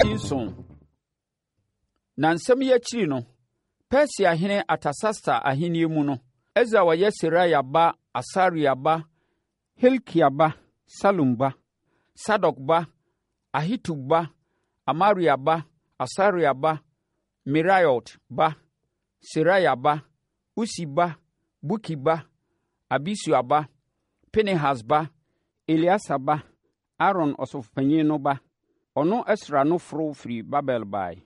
7. Na nsɛm yi akyiri no, Persiahene Artasasta ahennie mu no, Esra a ɔyɛ Seraia ba Asaria ba Hilkia ba Salum ba, Sadok ba, Ahitub ba, Amaria ba, Asaria ba, Meraiot ba, Seraia ba, Usi ba, Buki ba, Abisua ba, Pinehas ba, Eleasa ba, Aaron ɔsɔfopanin no ba, ɔno Esra no foro firii Babel baeɛ.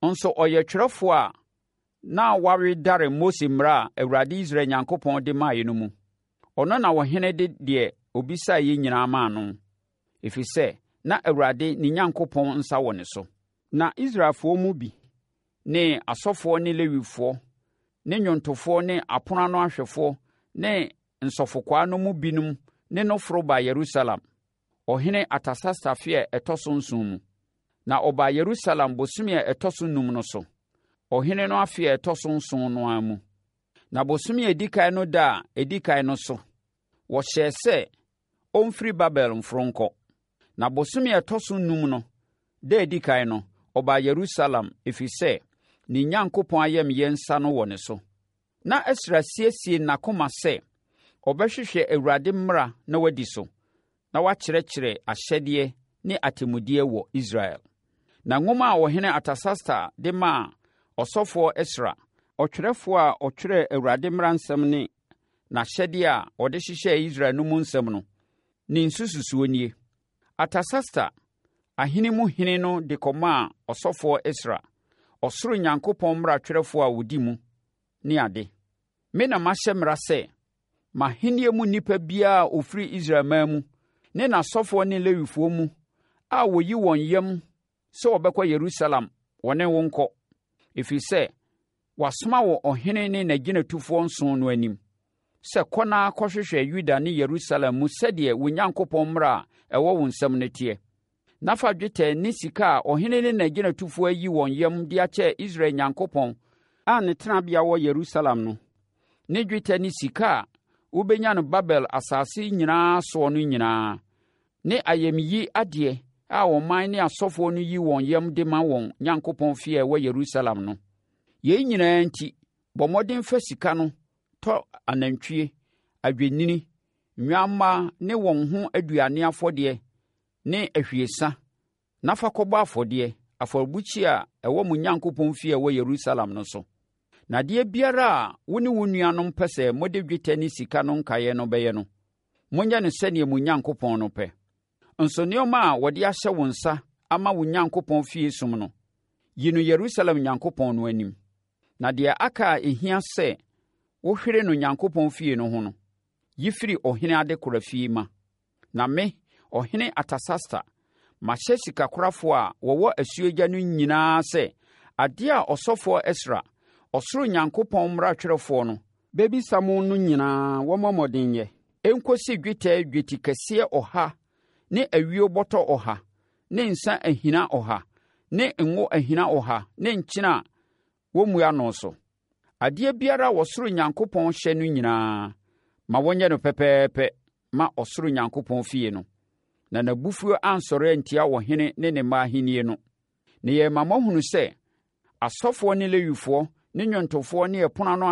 Nso ɔyɛ twerɛfoɔ a na wawedare Mose mmara a Awurade Israel Nyankopɔn de maeɛ no mu. Ɔno na ɔhene de deɛ ɔbisaeɛ nyinaa maa no, ɛfiri sɛ na Awurade ne Nyankopɔn nsa wɔ ne so. Na Israelfoɔ mu bi ne asɔfoɔ ne Lewifoɔ ne nnwontofoɔ ne apono ano ahwɛfoɔ ne nsɔfokwaa no mu binom ne no foro baa Yerusalem, ɔhene Artasasta afe a ɛtɔ so nson mu. Na ɔbaa Yerusalem bosome a ɛtɔ so num no so, ɔhene no afe a ɛtɔ so nson no ara mu. Na bosome a ɛdi kan no da a ɛdi kan no so, wɔhyɛɛ sɛ ɔmfiri Babel mforo nkɔ. Na bosome a ɛtɔ so num no da a ɛdi kan no, ɔbaa Yerusalem, ɛfiri sɛ ne Nyankopɔn ayamyɛ nsa no wɔ ne so. Na Esra siesie n'akoma sɛ ɔbɛhwehwɛ Awurade mmara na wadi so, na wakyerɛkyerɛ ahyɛdeɛ ne atemmudeɛ wɔ Israel. Na nwoma a ɔhene Artasasta de maa ɔsɔfoɔ Esra, ɔtwerɛfoɔ a ɔtwerɛɛ Awurade mmaransɛm ne n'ahyɛdeɛ a ɔde hyehyɛɛ Israel no mu nsɛm no, ne nsususoɔ nie. Artasasta, ahene mu hene no de kɔmaa ɔsɔfoɔ Esra, ɔsoro Nyankopɔn mmara twerɛfoɔ a ɔdi mu, ne ade. Me na mahyɛ mmara sɛ, m'ahennie mu nnipa biara a ɔfiri Israelman mu, ne n'asɔfoɔ ne Lewifoɔ mu a wɔyi wɔn yam sɛ wɔbɛkɔ Yerusalem, wɔne wo nkɔ, ɛfiri sɛ wɔasoma wɔ ɔhene ne n'agyinatufoɔ nson no anim sɛ kɔ na kɔhwehwɛ Yuda ne Yerusalem mu sɛdeɛ wo Nyankopɔn mmara a ɛwɔ wo nsam no teɛ. Na fa dwetɛ ne sika a ɔhene ne n'agyinatufoɔ ayi wɔn yam de akyɛ Israel Nyankopɔn a ne tenabea wɔ Yerusalem no, ne dwetɛ ne sika a wobɛnya no Babel asase nyinaa soɔ no nyinaa, ne ayamyi adeɛ a ɔman ne asɔfoɔ no yi wɔn yam de ma wɔn Nyankopɔn fie a ɛwɔ Yerusalem no. Yei nyinaa nti, bɔ mmɔden fa sika no tɔ anantwie, adwennini, nnwammaa ne wɔn ho aduane afɔdeɛ ne ahwiesa na fa kɔbɔ afɔdeɛ, afɔrebukyia a ɛwɔ mo Nyankopɔn fie a ɛwɔ Yerusalem no so. Na adeɛ biara a wo ne wo nuanom pɛ sɛ mode dwetɛ ne sika no nkaeɛ no bɛyɛ no, monyɛ no sɛdeɛ mo Nyankopɔn no pɛ. Nso nneɛma a wɔde ahyɛ wo nsa ama wo Nyankopɔn fie som no, yi no Yerusalem Nyankopɔn no anim. Na deɛ aka a ɛhia sɛ wohwere no Nyankopɔn fie no ho no, yi firi ɔhene adekora fie ma. Na me, ɔhene Artasasta, mahyɛ sikakorafoɔ a wɔwɔ asuogya no nyinaa sɛ, adeɛ a ɔsɔfoɔ Esra, ɔsoro Nyankopɔn mmaratwerɛfoɔ no, bɛbisa mo no nyinaa wɔmmɔ mmɔden nyɛ, ɛnkɔsi dwetɛ dwetikɛseɛ ɔha ne ayuo bɔtɔ ɔha ne nsa ahina ɔha ne ngo ahina ɔha ne nkyene a wɔmmu ano so. Adeɛ biara a ɔsoro Nyankopɔn hyɛ no nyinaa, ma wɔnyɛ no pɛpɛɛpɛ ma ɔsoro Nyankopɔn fie no, na n'abufuo ansɔre antia ɔhene ne ne mma ahennie no. Na yɛrema moahunu sɛ asɔfoɔ ne Lewifoɔ ne nnwontofoɔ ne ɛpono ano